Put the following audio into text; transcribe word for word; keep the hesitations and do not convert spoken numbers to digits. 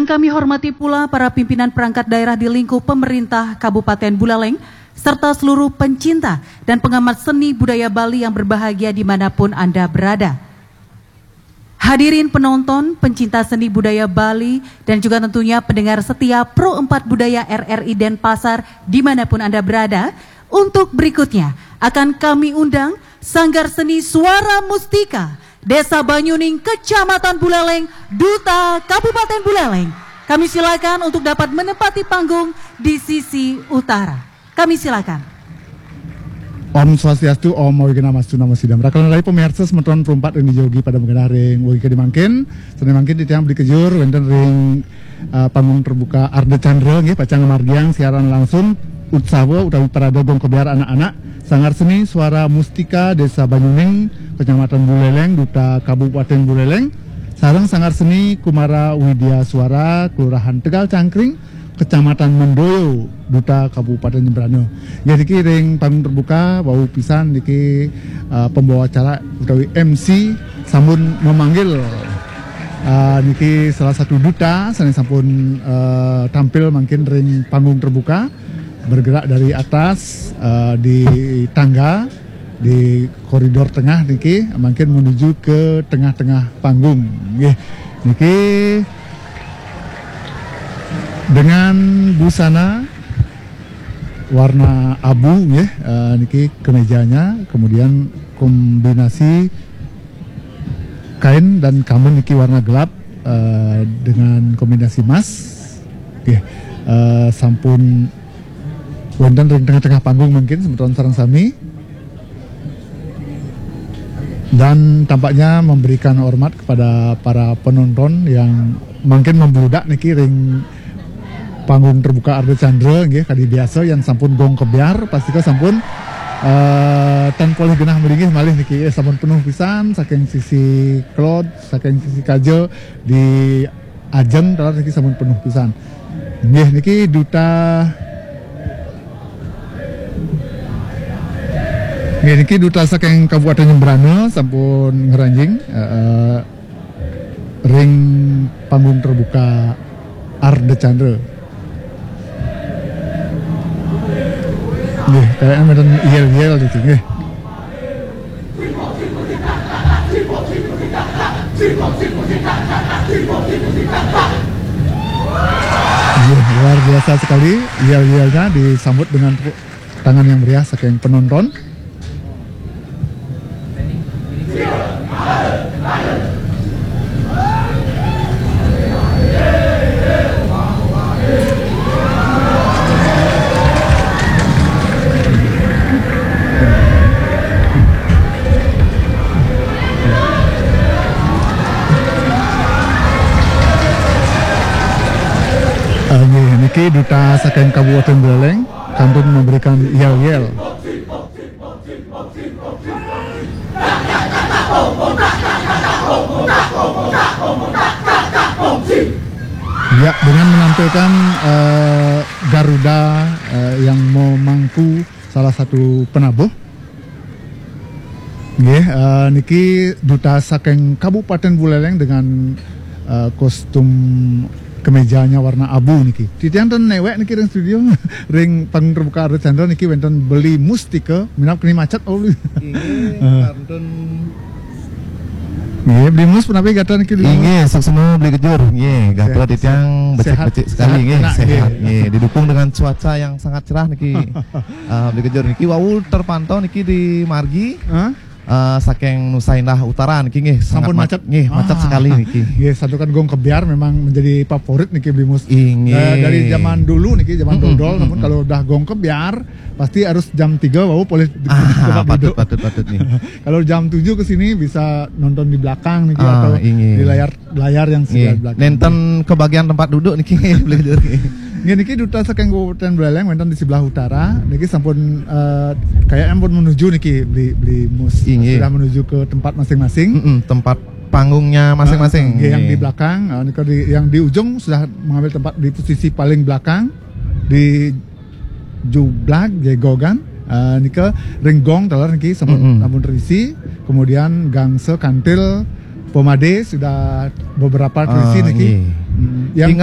Kami hormati pula para pimpinan perangkat daerah di lingkup pemerintah Kabupaten Buleleng, serta seluruh pencinta dan pengamat seni budaya Bali yang berbahagia dimanapun Anda berada. Hadirin penonton, pencinta seni budaya Bali, dan juga tentunya pendengar setia Pro empat Budaya R R I Denpasar dimanapun Anda berada, untuk berikutnya akan kami undang Sanggar Seni Suara Mustika, Desa Banyuning, Kecamatan Buleleng, Duta Kabupaten Buleleng. Kami silakan untuk dapat menempati panggung di sisi utara. Kami silakan. Om Swastiastu, Om Awighnamastu Namo Sidam. Rakalan rai pemirsa semeton perumpat ring jogi pada mengenah ring wagi kadi mangkin. Sane mangkin titiang Beli Kejur wenten ring uh, panggung terbuka Arda Chandra nggih, pacang ngamargiang siaran langsung utsawa utawi parade gong kebyar anak-anak, Sanggar Seni Suara Mustika Desa Banyuning, Kecamatan Buleleng, Duta Kabupaten Buleleng, sareng Sanggar Seni Kumara Widya Suara, Kelurahan Tegal Cangkring, Kecamatan Mendoyo, Duta Kabupaten Jembrana. Ya, niki ring panggung terbuka, wau pisan niki uh, pembawa acara utawi M C sampun memanggil uh, niki salah satu duta sane sampun uh, tampil mangkin ring panggung terbuka, bergerak dari atas uh, di tangga, di koridor tengah niki, mangkin menuju ke tengah-tengah panggung. Nggih. Niki dengan busana warna abu nggih, eh, niki kemejanya, kemudian kombinasi kain dan kamen niki warna gelap, eh, dengan kombinasi emas. Nggih, eh, sampun wenten ring tengah-tengah panggung mangkin semeton sareng sami. Dan tampaknya memberikan hormat kepada para penonton yang mangkin membludak niki ring panggung terbuka Arda Chandra nggih, kadi biasa yang sampun gong kebyar, pastika sampun eh, tan polih genah malinggih malih niki. Eh, sampun penuh pisan saking sisi kelod, saking sisi kaja, di ajeng taler niki sampun penuh pisan. Nggih, niki duta Nggih, niki duta saking Kabupaten Jembrana sampun ngranjing eh, eh, ring panggung terbuka Arda Chandra. Nggih, kayaknya menten yel-yel gitu nggih. Iya, luar biasa sekali. Yel-yelnya disambut dengan tepuk tangan yang meriah saking penonton. Ah, nggih, niki duta saking Kabupaten Buleleng kantun memberikan yel-yel. Ya, dengan menampilkan eh, Garuda eh, yang memangku salah satu penabuh. Nggih, eh, niki duta saking Kabupaten Buleleng dengan eh, kostum kemejanya warna abu niki. Titiang ten newek niki ring studio, ring panggung terbuka Arda Chandra niki wenten Beli Mustika, minab keni macet, oh. Inggih, eh, kantun. Nggih, Beli Mus, punapi gatra niki, Beli Mus? Inggih, suksma Beli Kejur. Nggih, gatra titiang becik-becik sekali, sehat, nggih, sehat. Nggih, didukung dengan cuaca yang sangat cerah niki. Ah, Beli Kejur niki wau terpantau niki di margi. Hah? Eh, saking Nusa Indah Utara niki nggih, sangat sampun ma-, macet. Nggih, macet sekali niki. Nggih, santukan gong kebyar memang menjadi favorit niki, Beli Mus. Inggih. Eh, dari zaman dulu niki, zaman dodol, namun kalau udah gong kebyar pasti harus jam tiga wau polih di tempat duduk. Ah, patut, patut, patut nih. Kalau jam tujuh ke sini bisa nonton di belakang niki atau di layar, layar yang sebelah belakang. Nenten kebagian tempat duduk niki, Beli Kejur. Nggih, niki duta saking Kabupaten Buleleng wenten di sebelah utara. Niki sampun eh, kayaknya pun menuju niki, Beli, Beli Mus. Inggih. Sudah menuju ke tempat masing-masing. Mm-mm, tempat panggungnya masing-masing. Nggih, yang di belakang, eh, nika di, yang di ujung sudah mengambil tempat di posisi paling belakang di jublag jegogan. Eh, nika ring gong taler niki sampun, sampun terisi. Kemudian gangsa kantil pemade sudah beberapa terisi niki. Nggih. Hmm, yang